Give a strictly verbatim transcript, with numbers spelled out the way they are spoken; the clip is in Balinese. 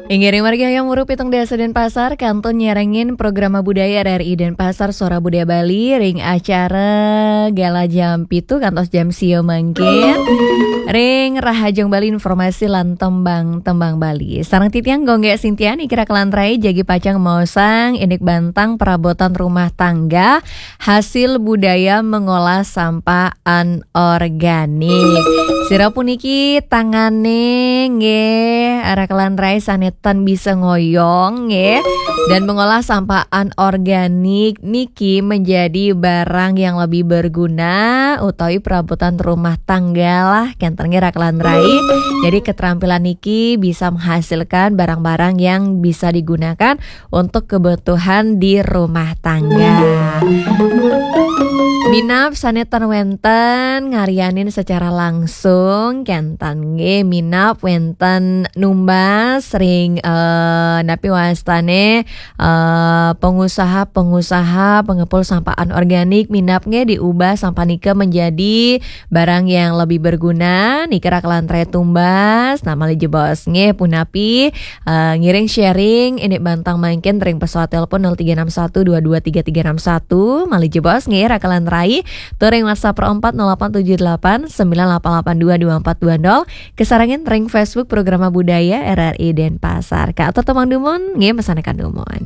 Inggih ring wargi Hayam Wuruk pitung dasa Denpasar, kantun nyarengin Programa Budaya R R I Denpasar, Suara Budaya Bali, ring acara Gala jam pitu kantos jam sia mangkin. Ring Rahajeng Bali, informasi lan tembang-tembang Bali. Sareng titiang Gung Gé Sintia niki rakelan rai jagi pacang maosang indik bantang perabotan rumah tangga hasil budaya mengolah sampah anorganik. Sira puniki tangane nggih rakelan rai sane tan bisa ngoyong nggih dan mengolah sampah anorganik niki menjadi barang yang lebih berguna utawi perabotan rumah tangga lah kenten nggih rakelan rai. Jadi keterampilan niki bisa menghasilkan barang-barang yang bisa digunakan untuk kebutuhan di rumah tangga. Minab sane tan wenten ngarianin secara langsung kenten nggih minab wenten numbas ring eh, napi wastane eh, pengusaha-pengusaha pengepul sampah anorganik minab nggih diubah sampah nika menjadi barang yang lebih berguna nika rakelan rai tumbas. Nah malih jebos nggih punapi eh, ngiring sharing ini bantang mangkin ring pesawat telepon nol tiga enam satu dua dua tiga tiga enam satu malih jebos nggih rakelan rai tur ring WhatsApp empat nol delapan tujuh delapan sembilan delapan delapan dua dua empat dua nol kesarengin ring Facebook Programa Budaya R R I Denpasar. Kaatur tembang dumun nggih mesanekan dumun.